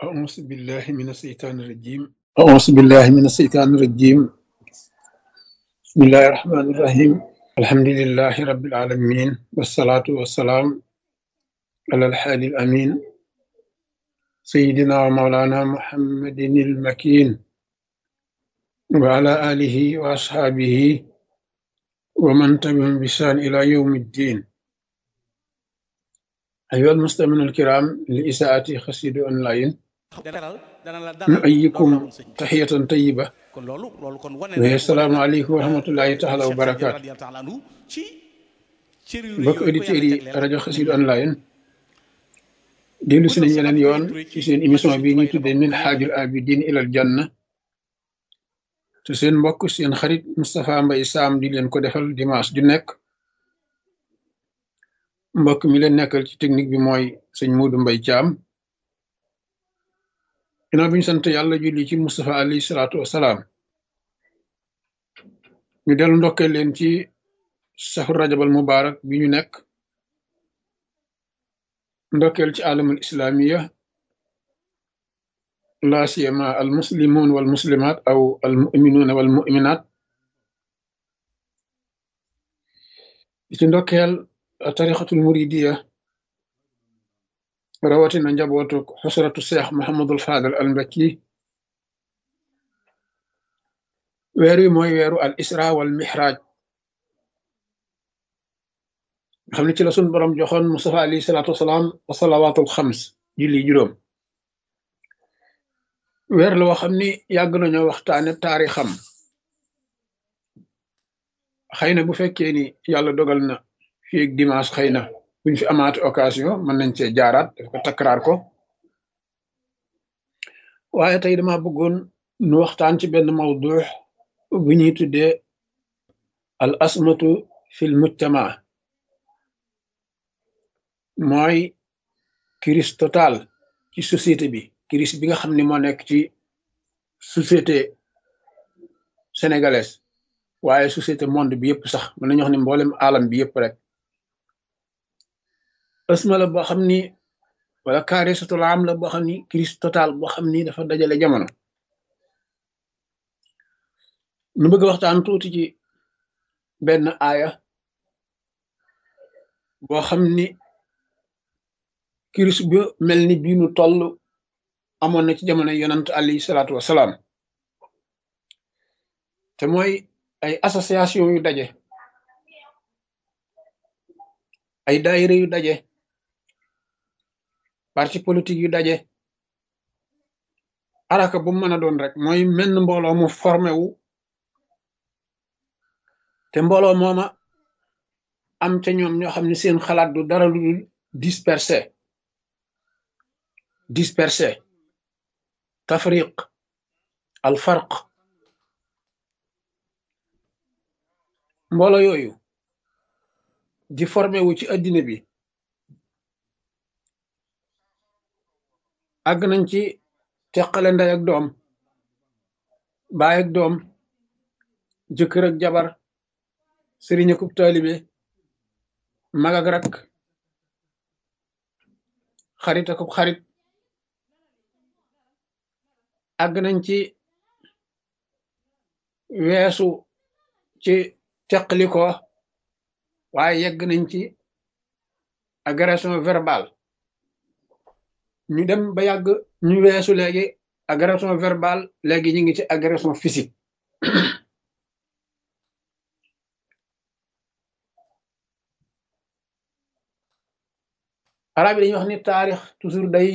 أعوذ بالله من الشيطان الرجيم أعوذ بالله من الشيطان الرجيم بسم الله الرحمن الرحيم الحمد لله رب العالمين والصلاة والسلام على الحادي الأمين سيدنا ومولانا محمد المكين وعلى آله وأصحابه ومن تبعهم بإحسان إلى يوم الدين أيها المستمعون الكرام لإساءة خسيد أونلاين dana la dalal نؤيكم ndox sëñ bi تحية طيبة kon loolu kon وهي wane السلام na عليكم ورحمة الله تعالى Cheikh Sadil وبركاته radiyallahu taala anhu ci cër yu rëy mbokk yooyu ko auditeurs yàlla yi jagleel rajo nim Xassida mel online dellu bu si doon nañ sabab yeneen yu yoon rëy rëy ci ci seen magi émission sëñ bi Tuubaa ñuy yi la tuddee bokk min bu yàgg xaajul nag abidin ilal janna te seen mbokk seen xarit Moustapha Mbaye Sam di leen ko defal dimanche ju nekk mbokk mi leen nekkal ci technique bi mooy sëñ Modou Mbaye Thiam ginnaaw bi ñu sant yàlla julli ci Moustapha alayhi salaatu wasalaam ñu dellu ndokkee leen ci safar rajabal mubarak bi ñu nekk ndokkeel ci alamul islamiya la siyama al muslimun wal muslimat aw al muminuna wal muminat di ci ndokkeel tarixatul muridiya rawatina njabootu xusratu seex Muhammadul Fadal al Mbakki weer wi mooy weeru al isra wal mihraj nga xam ne ci la sun borom joxoon Mustafa alayhi salaatu wasalaam wa salawaatul xams julli juróom weer la woo xam ni yàgg nañoo waxtaane taarixam xëy na bu fekkee ni yàlla dogal na fii ak dimanche xëy na buñ fi amaate occasion mën nañ cee jaaraat daf ko takraar ko waaye tey dama bëggoon nu waxtaan ci benn mawdu bu ñuy tuddee al asmatu fil mujtama mooy crise totale ci société bi crise bi nga xam ne moo nekk ci société sénégalaise waaye société monde bi yëpp sax mën nañu wax ne mboolem alam bi yëpp rek asma la boo xam ni wala kaarisatul am la boo xam ni crise totale boo xam ni dafa dajale jamono nu bëgg a waxtaan tuuti ci benn aaya boo xam ni crise bu mel ni bii nu toll amoon na ci jamono yonant alayhi salaatu wasalaam te mooy ay association yu daje ay daayira yu daje parti politique yu daje araka bu mën a doon rek mooy menn mbooloo mu formé wu te mbooloo mooma am ca ñoom ñoo xam ne seen xalaat du dara lu dul dispersé tafriq al farq mbooloo yooyu di formé wu ci addina bi àgg nañ ci teqale ndey ak doom baay ak doom jëkkër ak jabar sëriñ akub taalibe mag ak rak xarit akub xarit àgg nañ ci weesu ci teqliko waaye yegg nañ ci agression verbale ñu dem ba yàgg ñu weesu léegi agression verbale léegi ñu ngi ci agression physique arab yi dañuy wax ni taarix toujours day